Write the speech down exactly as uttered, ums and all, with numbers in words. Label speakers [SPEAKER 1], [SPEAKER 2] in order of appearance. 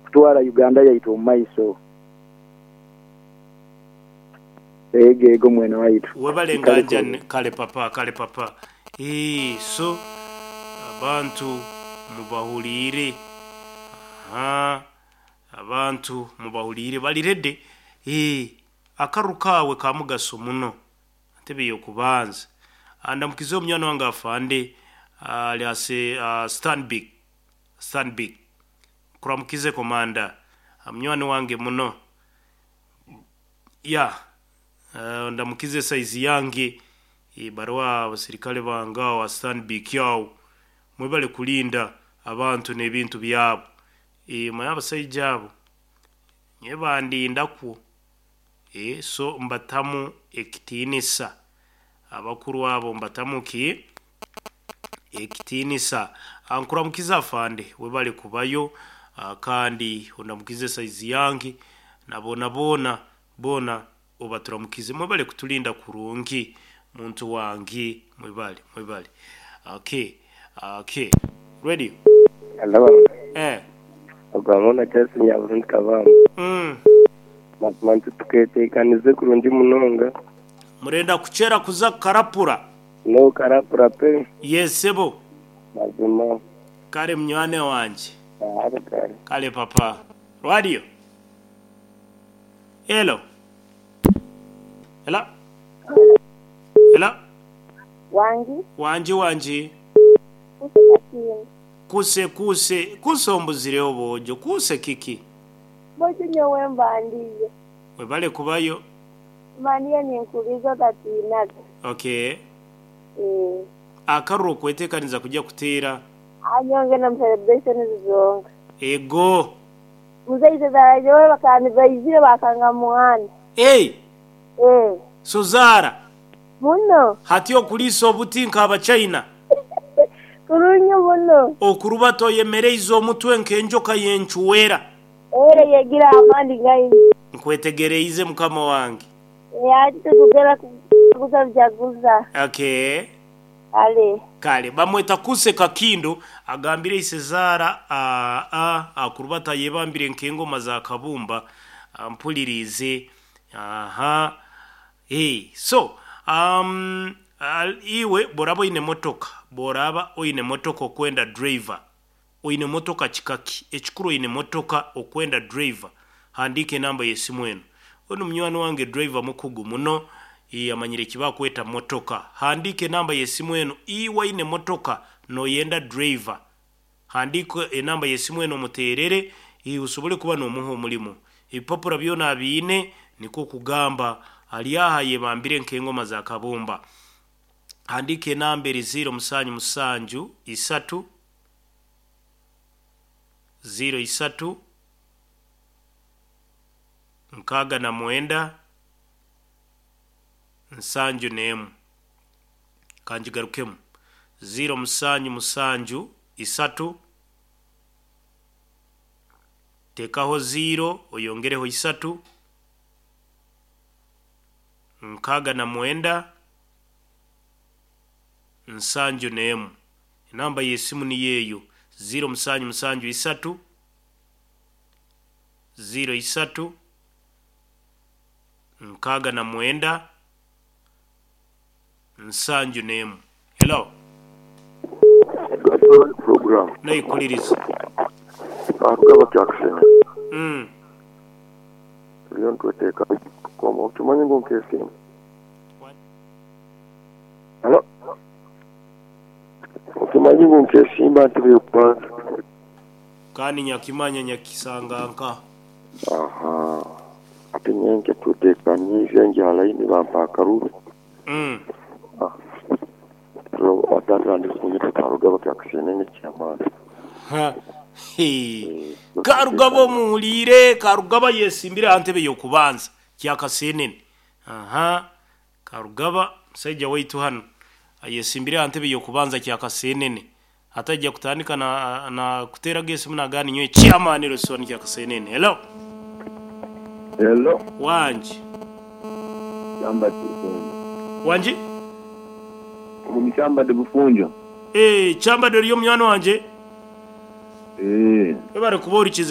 [SPEAKER 1] Kutwara Uganda yaitu omu maiso. Ego ego mwene waitu.
[SPEAKER 2] Webale.
[SPEAKER 1] Kale.
[SPEAKER 2] Nganja kale papa, kale papa. Ee, so abantu mubahuliire. Aha, abantu mubahuliire, bali ready. Ee, akaru kaawe ka mugaso muno ntebe y'okubanza. Andamukize omunywani wange afande ali ase uh, Stanbic Stanbic kuramukize komanda, munywani wange muno ya. uh, ndamukize saizi yange e, barwa abasirikale bange awo wa Stanbic awo, mwebale kulinda abantu n'ebintu byabo. E, mwe abasaija abo nye bandindakwo. E, so mbatamu ekitiinisa abakuru abo, mbatamu ki ekitiinisa. Ankuramukiza afande, webale kubayo. ah, kandi ondamukize saizi yange na bona bona bona obaturamukize. Mwebale kutulinda kurungi muntu wange, mwebale, mwebale. Okay, okay, ready.
[SPEAKER 3] Hello.
[SPEAKER 2] Eh.
[SPEAKER 3] Ogwamona Charles Nyaburundi Kabamba.
[SPEAKER 2] Mm.
[SPEAKER 3] Mazima nti tuketekanize kurungi munonga.
[SPEAKER 2] Murenda kuchera kuza karapura?
[SPEAKER 3] No karapura pe.
[SPEAKER 2] Yesebo.
[SPEAKER 3] Mazima.
[SPEAKER 2] Kale mnywane wanje.
[SPEAKER 3] Kale kale.
[SPEAKER 2] Kale papa. Radio, hello, hello, hello.
[SPEAKER 4] Wangi.
[SPEAKER 2] Wanji, wanji.
[SPEAKER 4] Kusekakini.
[SPEAKER 2] Kuse, kuse, kuse, ombuzireho bojo kuse kiki?
[SPEAKER 4] Bojo nyowe mbandiye.
[SPEAKER 2] Webale kubayo.
[SPEAKER 4] Mbandiye ninkuliza otatinaga.
[SPEAKER 2] Okay.
[SPEAKER 4] Eh.
[SPEAKER 2] Akaruru okwetekaniza kujya kuteera.
[SPEAKER 4] Anyonge na celebration zizonga.
[SPEAKER 2] Ego.
[SPEAKER 4] Muzeyi zaraje bakandi bayizire bakanga muhanda.
[SPEAKER 2] Hey.
[SPEAKER 4] Eh.
[SPEAKER 2] Sozara.
[SPEAKER 4] Muno.
[SPEAKER 2] Hati okulisa obuti nk'abachina.
[SPEAKER 4] Kurungi muno.
[SPEAKER 2] Okuruba toyemereize omutwe nk'enjoka yenchuwera.
[SPEAKER 4] Ere yegira amandi ngai.
[SPEAKER 2] Nkwetegereize mukama wange.
[SPEAKER 4] Ati tukugera kuguza byaguza.
[SPEAKER 2] Okay.
[SPEAKER 4] Ale.
[SPEAKER 2] Kale bamweta kuse kakindo, agambire isezara a a akurubata yebambire nk'engoma za kabumba ampulirize. Aha, hey, so um, al, iwe boraba oine motoka, boraba oine motoka okwenda driver, oine motoka kikaki ekikuru, oine motoka okwenda driver, handika enamba y'esimu eno. Ono munywani wange driver mukugu muno, eh, amanyire kibakweta motoka. Handika enamba y'esimu eno. Iwe oine motoka noyenda driver, handika enamba y'esimu eno muterere, eh, usobole kuba n'omuha omulimu. Ebipapura byona abiine, niko kugamba ali aha yebambire nk'engoma za kabumba. Handika enamba eri ziro musanju musanju isatu ziro isatu nkaaga na mwenda nsanju n'emu. Kanjigarukemu: ziro musanju musanju isatu, tekaho ziro, oyongereho isatu, nkaaga na mwenda nsanju n'emu. Enamba y'esimu niyo eyo: ziro musanju musanju isatu ziro isatu nkaaga na mwenda nsanju n'emu. Hello.
[SPEAKER 5] Program.
[SPEAKER 2] Naikuliriza.
[SPEAKER 5] Karugaba kyakusena.
[SPEAKER 2] Mm.
[SPEAKER 5] Turiyo nitweteeka koma okimanyi ngu nkesimba. Halo, okimanyi ngu nkesimba ntebe y'okubanza?
[SPEAKER 2] Kandi nyakimanya nyakisanganka.
[SPEAKER 5] Aha, ate nyenke tweteekaniize njalaini bampa akaruru.
[SPEAKER 2] Mm.
[SPEAKER 5] Atandika kunyita Karugaba kyakusenene kyamaani.
[SPEAKER 2] Ha. Hey. Karugaba omuwuliire, Karugaba yesimbire aha ntebe y'okubanza kyakasenene. Aha, Karugaba musajja waitu hano ayesimbire aha ntebe y'okubanza kyakasenene, atajja kutandika na, na kuteraga esimu nagani nyowe chairman restaurant kyakasenene. Hello.
[SPEAKER 6] Hello.
[SPEAKER 2] Wanji.
[SPEAKER 6] Chamba Bufunjo.
[SPEAKER 2] Wanji.
[SPEAKER 6] Omu Chamba de Bufunjo.
[SPEAKER 2] Eh, chamba deriyo munywani wanje.
[SPEAKER 6] Eh.
[SPEAKER 2] Webare kuba orikize.